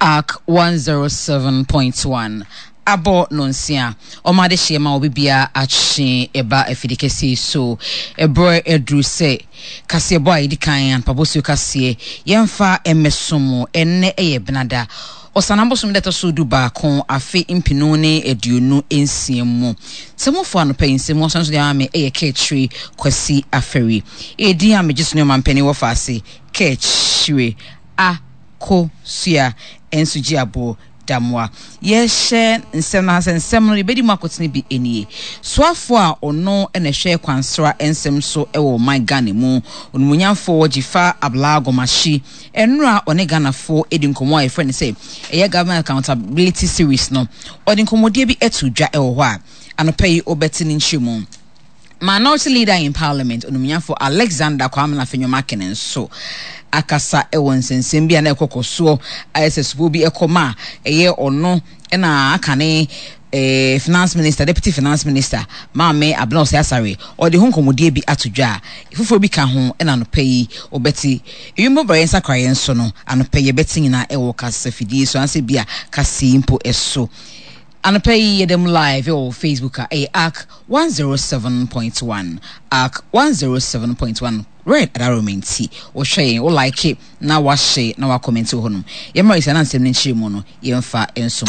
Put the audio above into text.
Ark 107.1 abɔ nonsia ɔma adehyeɛ ma obi biara akye ɛba afidi kɛseɛ yi so. Ɛberɛ aduru sɛ kaseɛbɔ a yɛdi kan anpabosuo kaseɛ yɛmfa mmɛso mo. Ɛnnɛ ɛyɛ Benada Ɔsanam bosome da ɛtɔ so 11 afe 2026 mu. Sɛmufo anɔpa yi nsɛm ɔsan so de ama me ɛyɛ Kaakyire Kwasi Afari. Edin a megye so ne ɔmampanin wɔ faase Kaakyire Akosua nso gye aboɔ Damoa. Yɛhyɛ nsɛm no ase nsɛm no yɛbɛdi mu akotene bi nie. Soafoɔ a ɔno na ɛhwɛ kwansra nsɛm so wɔ ɔman Ghana mu, Onimonyamfoɔ Dzifa Abla Gomashie, Nnora a ɔne Ghanafoɔ di nkɔmmɔ a yɛfrɛ no sɛ ɛyɛ Government Accountability Series no, ɔde nkɔmmɔdie bi to dwa wɔ hɔ a anɔpa yi wobɛte ne nkyerɛmu. Minority Leader in Parliament, Onimnyafo Alexander Kwame Afenyo-Markin nso akasa wɔ nsɛnsɛm bi a na ɛkɔkɔ soɔ ayɛ sɛ sobo bi ɛkɔ ma ɛyɛ ɔno na aka ne eh, finance minister, deputy finance minister, Maame Abena Osei Asare, ɔde ho nkɔmmɔdie bi ato dwa a foforɔ bi ka ho ɛna anɔpa yi wɔbɛte. Ewiem bɔbrɛyɛ nsakraeɛ nso no, anɔpa yi yɛbɛte nyinaa ɛwɔ kasafidie so anaasɛ bi a kaseɛ mpo ɛso. Anɔpa yi yɛda mu live ɛwɔ Facebook a ɛyɛ Ark 107.1, Ark 107.1 Red Adaroma nti wohwɛ yɛn, wo like na wahyɛ na wakɔmɛnti wɔ hɔnom. Yɛmmra yi sɛ na nsɛm no nkyerɛ mu no yɛmfa nsom.